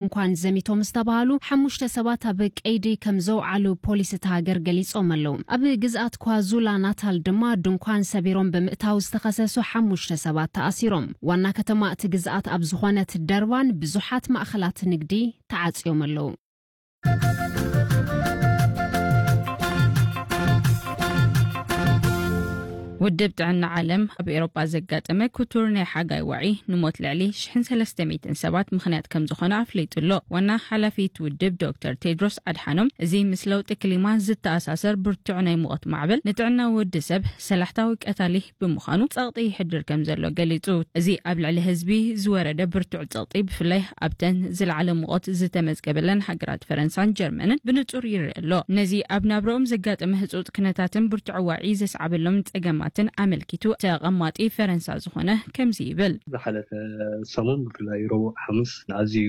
ድንኳን ዘሚቶም ዝተባሃሉ ሓሙሽተ ሰባት ኣብ ቀይዲ ከም ዘውዓሉ ፖሊስ እታ ሃገር ገሊጾም ኣለዉ። ኣብ ግዝኣት ኳዙላ ናታል ድማ ድንኳን ሰቢሮም ብምእታው ዝተኸሰሱ ሓሙሽተ ሰባት ተኣሲሮም። ዋና ከተማ እቲ ግዝኣት ኣብ ዝኾነት ደርባን ብዙሓት ማእኸላት ንግዲ ተዓጽዮም ኣለዉ። ውድብ ጥዕና ዓለም ኣብ ኤውሮጳ ዘጋጠመ ክቱር ናይ ሓጋይ ዋዒ ንሞት ልዕሊ ሽሕን ሰለስተ ሚእትን ሰባት ምኽንያት ከም ዝኾነ ኣፍሊጡ ኣሎ። ዋና ሓላፊ እቲ ውድብ ዶክተር ቴድሮስ ኣድሓኖም፣ እዚ ምስ ለውጢ ክሊማ ዝተኣሳሰር ብርቱዕ ናይ ሙቐት ማዕበል ንጥዕና ወዲ ሰብ ሰላሕታዊ ቀታሊ ብምዃኑ ጸቕጢ ይሕድር ከም ዘሎ ገሊጹ። እዚ ኣብ ልዕሊ ህዝቢ ዝወረደ ብርቱዕ ጸቕጢ ብፍላይ ኣብተን ዝለዓለ ሙቐት ዝተመዝገበለን ሃገራት ፈረንሳን ጀርመንን ብንጹር ይርአ ኣሎ። ነዚ ኣብ ናብረኦም ዘጋጠመ ህጹጽ ክነታትን ብርቱዕ ዋዒ ዘስዓበሎም ጸገማትን ኣመልኪቱ ተቐማጢ ፈረንሳ ዝኾነ ከምዚ ይብል። ዝሓለፈ ሰሙን ብፍላይ ረቡዕ ሓሙስ ኣዝዩ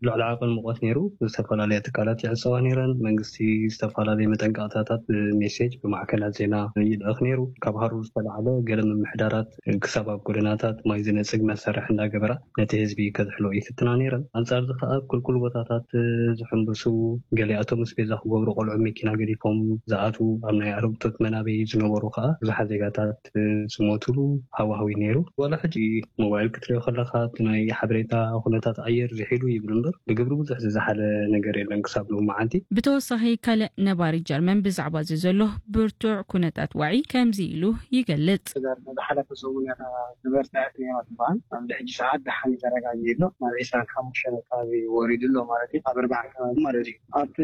ልዕሊ ዓቐን ሙቐት ነይሩ። ዝተፈላለያ ትካላት ይዕጸዋ ነይረን። መንግስቲ ዝተፈላለየ መጠንቀቕታታት ብሜሴጅ ብማዕከናት ዜና ይልእኽ ነይሩ። ካብ ሃሩር ዝተላዕለ ገለ ምምሕዳራት ክሳብ ኣብ ጎደናታት ማይ ዝነጽግ መሳርሒ እንዳገበራ ነቲ ህዝቢ ከዝሕሎ ይፍትና ነይረን። ኣንጻር እዚ ከኣ ኣብ ክልኩል ቦታታት ዝሕንብሱ፣ ገሊኣቶም ምስ ቤዛ ክገብሩ ቆልዑ መኪና ገዲፎም ዝኣትዉ፣ ኣብ ናይ ኣረግቶት መናበይ ዝነበሩ ከኣ ብዙሓት ዜጋታት ዝሞቱሉ ሃዋህው ነይሩ። ዋላ ሕጂ ሞባይል ክትሪኦ ከለኻ እቲ ናይ ሓበሬታ ኩነታት ኣየር ዝሒሉ ይብል እምበር ብግብሪ ብዙሕ ዝዘሓለ ነገር የለን ክሳብ ሎሚ መዓልቲ። ብተወሳኺ ካልእ ነባሪ ጀርመን ብዛዕባ እዚ ዘሎ ብርቱዕ ኩነታት ዋዒ ከምዚ ኢሉ ይገልጽ። ዝሓለፈ ሰሙን እያ ነበርቲ ኣትያ ትበሃል። ኣብዚ ሕጂ ሰዓት ደሓን እዩ ተረጋጊኡ ኣሎ። ናብ ዒስራን ሓሙሽተን ኣካባቢ ወሪዱ ኣሎ ማለት እዩ። ኣብ ኣርባዓ ከባቢ ማለት እዩ። ኣብቲ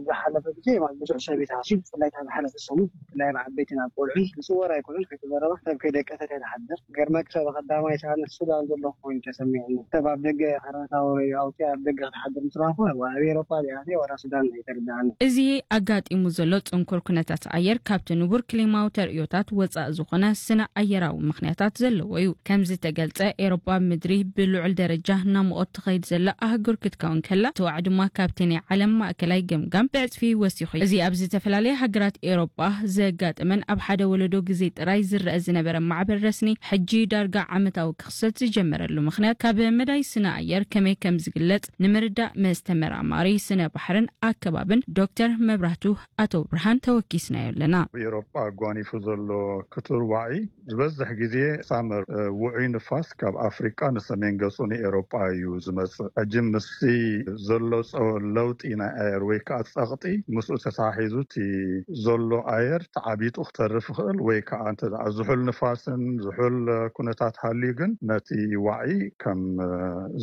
ዝሓለፈ ግዜ ማለት ብዙሕ ሰብ እዩ ተሃስዩ፣ ብፍላይ ካብ ዝሓለፈ ሰሙን፣ ብፍላይ ኣብ ዓበይትን ኣብ ቆልዑን ክጽወር ኣይኮነን፣ ከይተዘረበ ሰብ ከይደቀሰት እያ ትሓድር። ገርመክ ሰብ ቀዳማይ ሰዓት ንሱ ዳን ዘሎ ኮይኑ ተሰሚዑኒ። ሰብ ኣብ ደገ ሓራታ ወይ ኣውፂኣ ኣብ ደገ ክትሓድር ምስ ረኣኹ፣ ኣብ ኤውሮጳ ዲኣ ዋላ ሱዳን ኣይተርድኣኒ። እዚ ኣጋጢሙ ዘሎ ጽንኩር ኩነታት ኣየር ካብቲ ንቡር ክሊማዊ ተርእዮታት ወጻኢ ዝኾነ ስነ ኣየራዊ ምኽንያታት ዘለዎ እዩ። ከም ዝተገልጸ፣ ኤውሮጳ ምድሪ ብልዑል ደረጃ ናብ ሙቐት ትኸይድ ዘላ ኣህጉር ክትከውን ከላ፣ እቲ ዋዒ ድማ ካብቲ ናይ ዓለም ማእከላይ ገምጋም ብዕጽፊ ወሲኹ እዩ። እዚ ኣብ ዝተፈላለያ ሃገራት ኤውሮጳ ዘጋጠመን ኣብ ሓደ ወለዶ ግዜ ጥራይ ዝረአ ዝነበረ ማዕበል ረስኒ፣ ሕጂ ዳርጋ ዓመታዊ ክኽሰት ዝጀመረሉ ምኽንያት፣ ካብ መዳይ ስነ ኣየር ከመይ ከም ዝግለጽ ንምርዳእ ምስ ተመራማሪ ስነ ባሕርን ኣከባብን ዶክተር መብራህቱ ኣቶ ብርሃን ተወኪስናዮ ኣለና። ኣብ ኤውሮጳ ኣጓኒፉ ዘሎ ክቱር ዋዒ ዝበዝሕ ግዜ ሳመር፣ እ፣ ውዑይ ንፋስ ካብ ኣፍሪቃ ንሰሜን ገጹ ንኤውሮጳ እዩ ዝመጽእ። ሕጂ ምስቲ ዘሎ ጸ-፣ ለውጢ ናይ ኣየር ወይ ከኣ ጸቕጢ ምስኡ ተተሓሒዙ እቲ ዘሎ ኣየር ተዓቢጡ ክተርፍ ይኽእል ወይ ከኣ እንተ ደኣ ዝሑል ንፋስን ዝሑል፣ እ፣ ኩነታት ሃልዩ ግን ነቲ ዋዒ ከም፣ እ፣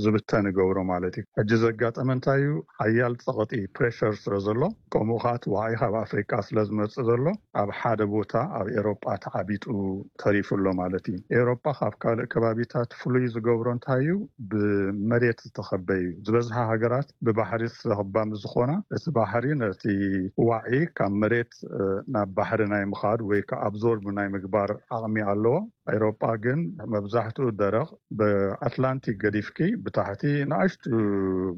ዝብተን ይገብሮ ማለት እዩ። ሕጂ ዘጋጠመ እንታይ እዩ? ሓያል ጸቕጢ ፕሬሸር ስለ ዘሎ ከምኡ ከኣ እቲ ዋዒ ካብ ኣፍሪቃ ስለ ዝመጽእ ዘሎ ኣብ ሓደ ቦታ ኣብ ኤውሮጳ ተዓቢጡ ተሪፉ ኣሎ ማለት እዩ። ኤውሮጳ ካብ ካልእ ከባቢታት ፍሉይ ዝገብሮ እንታይ እዩ? ብመሬት ዝተኸበ እዩ። ዝበዝሓ ሃገራት ብባሕሪ ዝተኸባ ምስ ዝኾና፣ እቲ ባሕሪ ነቲ ዋዒ ካብ መሬት፣ እ፣ ናብ ባሕሪ ናይ ምኻድ ወይ ከኣ ኣብዞርብ ናይ ምግባር ዓቕሚ ኣለዎ። ኤውሮጳ ግን መብዛሕትኡ ደረቕ፣ ብኣትላንቲክ ገዲፍኪ ብታሕቲ ንኣሽቱ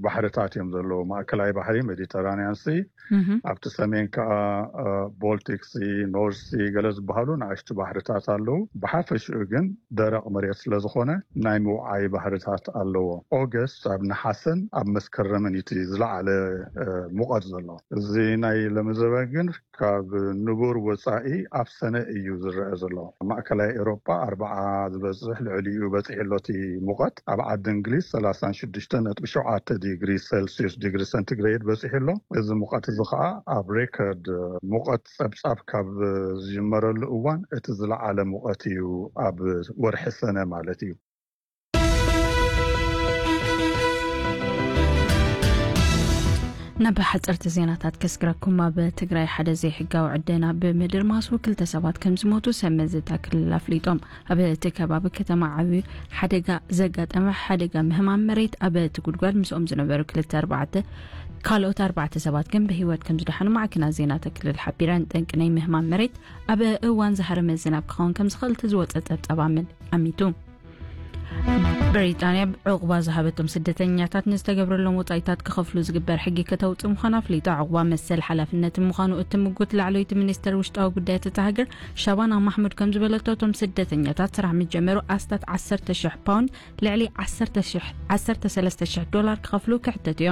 ባሕርታት እዮም ዘለዉ። ማእከላይ ባሕሪ ሜዲተራንያን ሲ፣ እህ። ኣብቲ ሰሜን ከኣ፣ እ፣ ቦልቲክ ሲ፣ ኖርዝ ሲ ገለ ዝበሃሉ ንኣሽቱ ባሕርታት ኣለዉ። ብሓፈሽኡ ግን ደረቕ መሬት ስለ ዝኾነ ናይ ምውዓይ ባህርታት ኣለዎ። ኦገስት ኣብ ነሓሰን ኣብ መስከረምን እዩ እቲ ዝለዓለ፣ እ፣ ሙቐት ዘሎ። እዚ ናይ ሎሚ ዘበን ግን ካብ ንቡር ወጻኢ ኣብ ሰነ እዩ ዝረአ ዘሎ። ማእከላይ ኤውሮጳ ኣርብዓ ዝበጽሕ ልዕሊኡ በጺሑ ኣሎ እቲ ሙቐት። ኣብ ዓዲ እንግሊዝ ሰላሳን ሽዱሽተን ነጥቢ ሸውዓተ ዲግሪ ሴልሲዩስ፣ ዲግሪ ሰንቲግሬድ በጺሑ ኣሎ። እዚ ሙቐት እዚ ኸኣ ኣብ ሬከርድ ሙቐት ጸብጻብ ካብ ዝጅመረሉ እዋን እቲ ዝለዓለ ሙቐት እዩ ኣብ ወርሒ ሰነ ማለት እዩ። ናብ ሓጸርቲ ዜናታት ከስግረኩም። ኣብ ትግራይ ሓደ ዘይሕጋዊ ዕደና ብምድርማሱ ክልተ ሰባት ከም ዝሞቱ ሰብ መዚ እታ ክልል ኣፍሊጦም። ኣብ እቲ ከባቢ ከተማ ዓብዩ ሓደጋ ዘጋጠመ ሓደጋ ምህማም መሬት፣ ኣብ እቲ ጉድጓድ ምስኦም ዝነበሩ ክልተ ኣርባዕተ፣ ካልኦት ኣርባዕተ ሰባት ግን ብህይወት ከም ዝደሓኑ ማዕከናት ዜና እታ ክልል ሓቢረን። ጠንቂ ናይ ምህማም መሬት ኣብ እዋን ዝሃረመ ዝናብ ክኸውን ከም ዝኽእል እቲ ዝወጸ ጸብጻብ ኣመል-፣ ኣሚቱ። ብሪጣንያ ዕቑባ ዝሃበቶም ስደተኛታት ንዝተገብረሎም ወጻኢታት ክኸፍሉ ዝግበር ሕጊ ከተውጽእ ምዃና ኣፍሊጣ። ዕቑባ መሰል ሓላፍነትን ምዃኑ እትምጉት ላዕለወይቲ ሚኒስተር ውሽጣዊ ጉዳያት እታ ሃገር ሻባና ማሕሙድ ከም ዝበለቶ፣ እቶም ስደተኛታት ስራሕ ምስ ጀመሩ ኣስታት ዓሰርተ ሽሕ ፓውንድ፣ ልዕሊ ዓሰርተ ሽሕ፣ ዓሰርተ ሰለስተ ሽሕ ዶላር ክኸፍሉ ክሕተቱ እዮም።